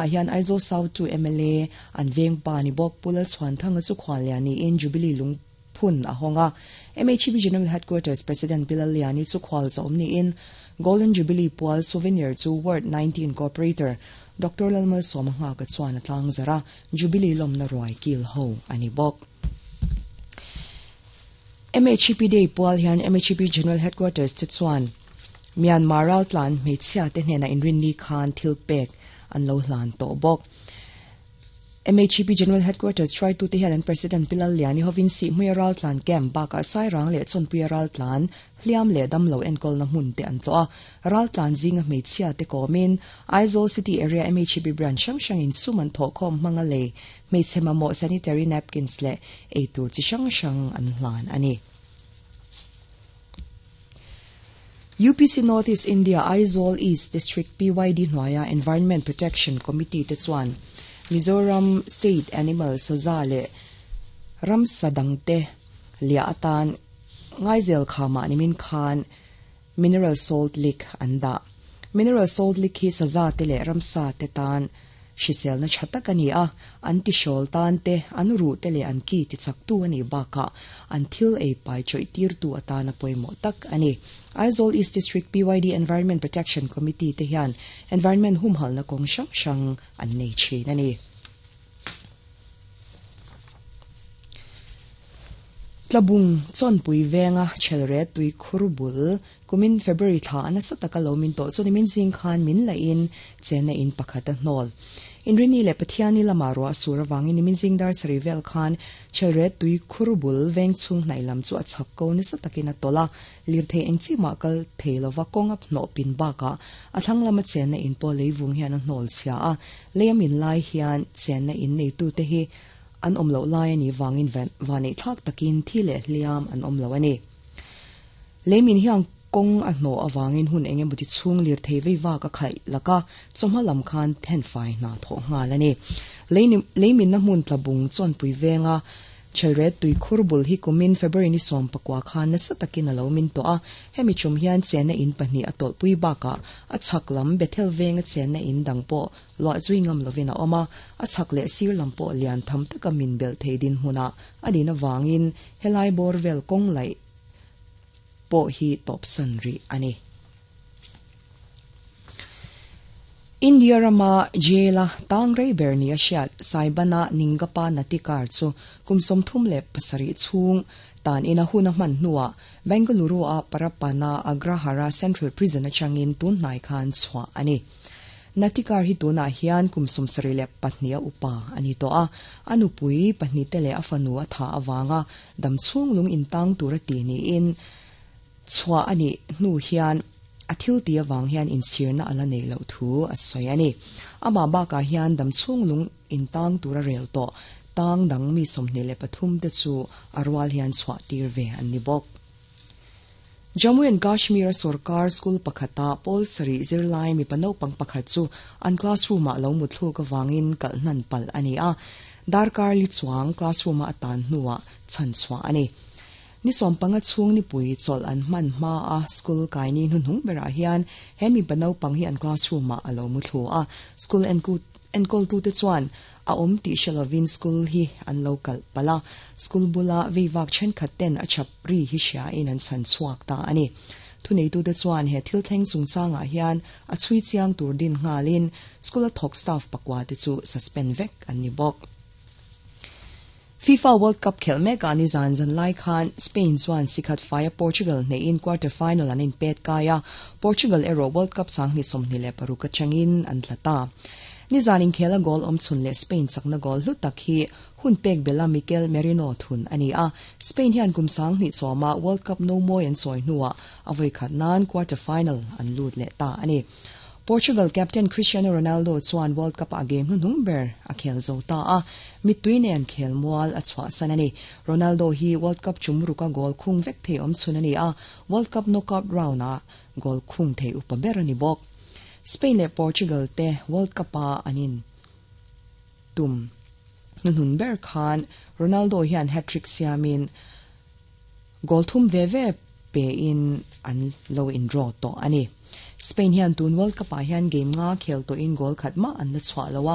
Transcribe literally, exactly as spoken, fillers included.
Hian Aizawl South two M L A an veng pa ni bawk Pu Lalchhuanthanga chu khuallian niin Jubilee lungphun a hawng a. M H P General Headquarters President Pi Lalliani chu khual zawm niin Golden Jubilee pual souvenir chu Ward nineteen Corporator Doctor Lalmalsawma Nghaka chuan a tlang zarh a, Jubilee lawmna ruai kil ho a ni bawk. M H P Day pual hian M H P General Headquarters te chuan Myanmar raltlan hmeichhia te hnenah inrinni khan thil pek an lo hlan tawh bawk. M H P General Headquarters hruaitute hian an President Pi Lalliani hovin Sihhmuia raltlan camp bakah Sairang leh Chawnpuia raltlan hliam leh damlo enkawlna hmun te an tlawh a. Raltlan zinga hmeichhia te kawmin Aizawl City Area M H P branch hrang hrangin sum an thawhkhawm hmanga lei hmeichhe mamawh sanitary napkins leh eitur chi hrang hrang an hlan a ni. U P C North East India Aizawl East District P Y D hnuaia Environment Protection Committee te chuan Mizoram State Animal Saza leh ramsa dangte liah atan Ngaizel khamah nimin khan Mineral Salt Lick an dah. Mineral Salt Lick hi saza te leh ramsa te tan hriselna tha tak a ni a, an tihrawl tan te, an ruh te leh an ki tichaktu a nih bakah an thil ei pai chawih tirtu atana pawimawh tak a ni. Aizawl East District P Y D Environment Protection Committee te hian environment humhalhna kawng hrang hrang an nei thin a ni. Tlabung Chawnpui venga Chelret tui khur bul kumin February thla a nasa taka lo min tawh chu nimin zing khan min lahin chenna in pakhat a hnawl. Inrini leh Pathiani lama ruah sur avangin nimin zing dar sarih vel khan Chelret tui khur bul veng chhung hnaih lam chu a chhak ko nasa takin a tawlh a, lirthei eng chi mah kal thei lova kawng a hnawh pin bakah a thlang lama chenna in pawh leivung hian a hnawl chhia a, lei a min lai hian chenna in neitute hi an awm loh lai a nih vangin vanneih thlak takin thi leh hliam an awm lo a ni. Leimin hian kawng a hnawh avangin hun eng emaw ti chhung lirthei vei vak a khaih lak a, chawhma lam khan thenfai hna thawh nghal a ni. Leiminna hmun tlabung Chawnpui venga Chelret tui khur bul hi kumin February ni sawm pakua khan nasa takin a lo min tawh a, hemi chum hian chenna in pahnih a tawlhpui bakah a chhak lam Bethel venga chenna in dang pawh luah zui ngam lovin a awm a, a chhak leh sir lam pawh lian tham taka min belh thei dinhmunah a din avangin helai bawr vel kawng laih pawh hi tawpsan rih a ni. India rama jail-a tang rei ber nia hriat Saibana Ningappa Natikar chu kum sawmthum leh pasarih chhung tan ina hun a hman hnuah Bengaluru-a Parappana Agrahara Central Prison atangin tun hnai khan chhuah a ni. Natikar hi tunah hian kum sawmsarih leh pahnih a upa a ni tawh a, a nupui pahnih te leh a fanu a thah avanga damchhung lung intang tur a ti niin chhuah a nih hnu hian a thil tih avang hian inchhirna a la neih loh thu a sawi a ni. Amah bakah hian damchhung lung intang tur a rel tawh tang dang mi sawmhnih leh pathum te chu a rual hian chhuah tir ve an ni bawk. Jammu and Kashmir-a sorkar school pakhata pawl sarih zirlai mipa naupang pakhat chu an classroom-ah lo mutthluk avangin kalh hnan palh a ni a, darkar li chuang classroom-a a tan hnuah chhan chhuah a ni. Ni sawm panga chhung nipui chawlh an hman hma a school kaini hnuhnung berah hian he mipa naupang hi an classroom-ah a lo muthlu a, school enkawltute chuan a awm tih hre lovin school hi an lo kalh palh a, school bula veivak thenkhat ten a chap ri hi hriain an chhan chhuak ta a ni. Thuneitute chuan he thil thleng chungchangah hian a chhui chiang tur din nghalin school-a thawk staff pakua te chu suspend vek an ni bawk. FIFA World Cup khelh mekah nizan zan lai khan Spain chuan sikhat faia Portugal hneihin quarter final an inpet kai a, Portugal erawh World Cup sanghnih sawmhnih leh paruk atangin an tla ta. Nizan inkhela goal awm chhun leh Spain chakna goal hlu tak hi hun pek bela Mikel Merino thun a ni a, Spain hian kum sanghnih sawma World Cup no mawi an sawi hnuah a vawi khat nan quarter final an lut leh ta a ni. Portugal captain Cristiano Ronaldo chuan World Cup-ah game hnuhnung ber a khel zo ta a, mittui nen khel mual a chhuahsan a ni. Ronaldo hi World Cup chum ruka goal khung vek thei awm chhun a ni a, World Cup knockout round-ah goal khung thei upa ber a ni bawk. Spain leh Portugal te World Cup-a an in tum hnuhnun ber khan Ronaldo hian hat-trick siamin goal thum ve ve pe in an lo in draw tawh a ni. Spain hian tun World Cup ah hian game nga khel to in goal khat ma an la chwa lowa.